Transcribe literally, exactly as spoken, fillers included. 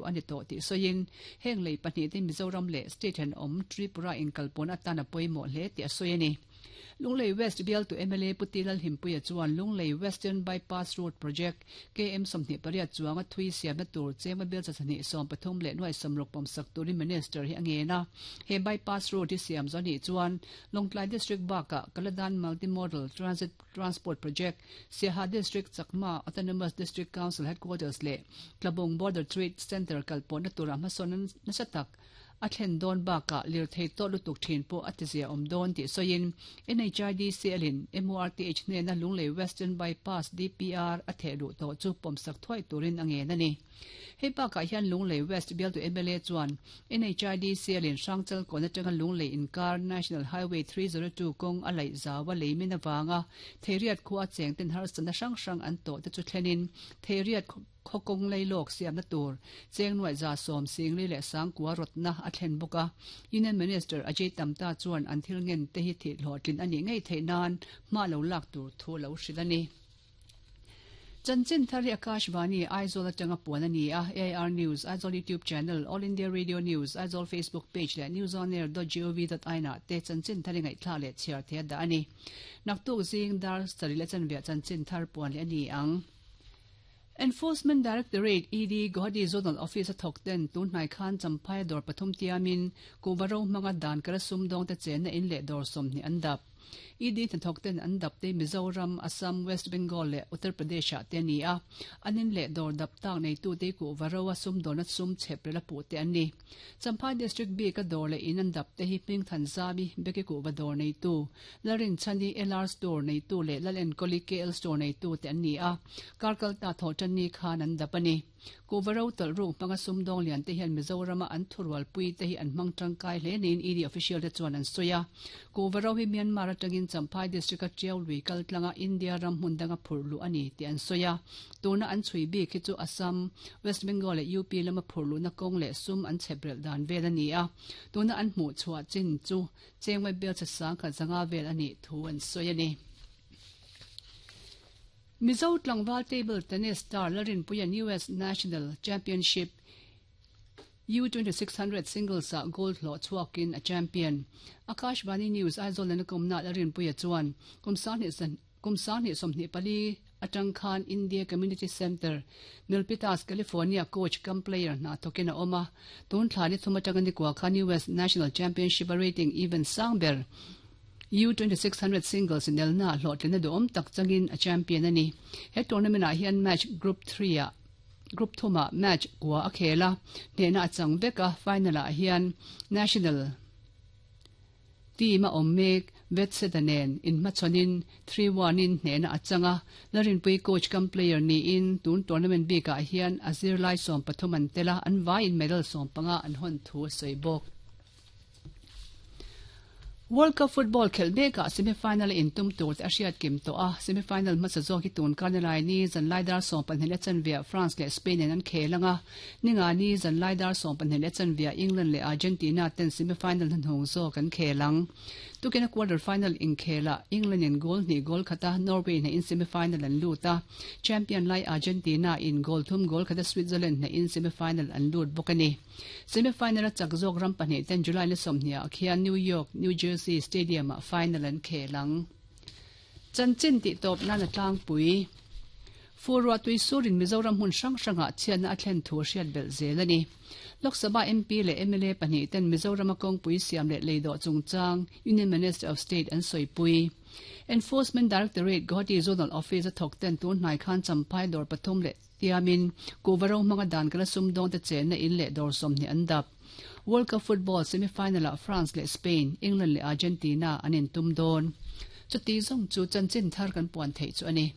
thehluh a ni tawh tih sawiin heng lei pahnih te Mizoram leh state thenawm Tripura inkalpawn atan a pawimawh hle tih a sawi a ni. Lunglei West bialtu M L A Pu T Lalhimpuia chuan Lunglei Western Bypass Road Project K M sawmhnih pariat chuanga thui siamna tur chengva bel chasahnih sawm pathum leh nuai sawmruk pawmsak turin Minister hi a ngen a. He bypass road hi siam zawh anih chuan Lawngtlai District bakah Kaladan Multimodal Transit Transport Project, Siaha District Chakma Autonomous District Council Headquarters leh Tlabung Border Trade Centre kalpawhna turah hmasawn nasa tak a thlen dawn bakah lirthei tawt lutuk thin pawh a tizia awm dawn tih sawiin N H I D C L in M O R T H hnena Lunglei Western Bypass D P R a thehluh tawh chu pawmsak thuai turin a ngen a ni. Hei bakah hian Lunglei West bialtu M L A chuan N H I D C L in Hrangchal kawn atanga Lunglei inkar National Highway three zero two kawng a laih zawa leimin awanga Theiriat khu a cheng ten harsatna hrang hrang an tawh te chu thlenin Theiriat khawkawng leilawk siamna tur cheng nuai za sawm singli leh sangkua rawtna a thlen bawk a. Union Minister Ajay Tamta chuan an thil ngen te hi thih hlawhtlin ani ngei theih nan hma lo lak tur thu lo hrilh a ni. Chanchin thar hi Akashvani Aizawl atanga puan ani a. A I R News Aizawl YouTube channel, All India Radio News Aizawl Facebook page leh newsonair dot gov dot in ah te chanchin thar ngai thla leh chhiar the da ani. Naktuk zing dar sarih leh chanve chanchin thar puan le ani ang. Enforcement Directorate E D Guwahati Zonal Office a thawk ten tun hnai khan Champhai dawr pathum tiamin kuhva ro hmanga dan kala sum dawng te chen na in leh dawr sawmhnih an dap. E D hnathawk ten an dap te Mizoram, Assam, West Bengal leh Uttar Pradesh ah te ani a. Anin leh dawr dap tak nei tu te kuhva ro a sum dawrna sum chep rela pu te an ni. Champhai District B ka dawr leh in an dap te hi Hming Than Zami Beki kuhva dawr nei tu, Larin Chani L R Store nei tu leh Lal Enkoli K L Store nei tu te an ni a. Karkal ta tho chan ni khan an dap ani. Kuhva ro tawlh ruk hmanga sum dawng lian te hian Mizorama an thurual pui te hi an hmang tangkai hle niin E D official te chuan an sawi a. Kuhva ro hi Myanmar atangin Champhai District a Tiau lui kal tlanga India ram hmun danga phurh luh ani tih an sawi a. Tuna an chhui bik hi chu Assam, West Bengal leh U P lama phurh luhna kawng leh sum an chheprel dan vel ani a. Tuna an hmuh chhuah chin chu chengwai bel cha sang khat zanga vel ani thu an sawi ani. Mizo Tlangval table tennis star Larinpuian U S National Championship U twenty-six hundred singles a gold hlo chuakin a champion. Akashvani News Aizawl na kumna Larinpuia chuan kum sang san kum sang sawmhnih pali atang khan India Community Center, Milpitas, California coach cum player na thokin a oma. Tun thla ni thuma tanga ni kwa khan U S National Championship rating even sangber U twenty-six hundred singles in elna hlawhtlina duhawm tak changin a champion ani. He tournament ah hian match group three ah group thuma match kwa a khela hnehna a chang veka. Final ah hian national team a awm mek Vetseta nen in hmachhawn three one in hnehna a changa. Larinpui coach cum player ni in tun tournament bik ah hian a zirlai sawm pathum an tela an vai in medal sawm panga an hawn thu a sawi bawk. World Cup football khel mekah semi-final in tum tur te a hriat kim tawh a. Semi-final hmasa zawk hi tun karnalai ni zanlai dar sawm pahnih leh chanve France leh Spain in an khel anga. Ninga ni zanlai dar sawm pahnih leh chanve England leh Argentina ten semi-final hnuhnung zawk an khel ang. Tukina quarter final in khela England in goal hnih goal khata Norway na in semi-final an lut a. Champion lai Argentina in goal thum goal khata Switzerland na in semi-final an lut bawk ani. Semi-final a chak zawk ram pahnih ten July ni sawmhnih ah khian New York, New Jersey Stadium ah final an khel ang. Chanchin ti tawp nan a tlangpui. Furwa tui surin Mizoram hmun hrang hranga chhiatna a thlen thu hriat belh zel ani. Lok Sabha M P leh M L A pahnih ten Mizoram a kawngpui siam leh leido chungchang Union Minister of State an sawi pui. Enforcement Directorate Guwahati Zonal Office a thawk ten tun hnai khan Champhai dawr pathum leh tiamin kuhva ro hmanga dan kala sum dawng te chen na in leh dawr sawmhnih an dap. World Cup football semi-final ah France leh Spain, England leh Argentina an in tum dawn. Chuti zawng chu chanchin thar kan puan theih chu ani.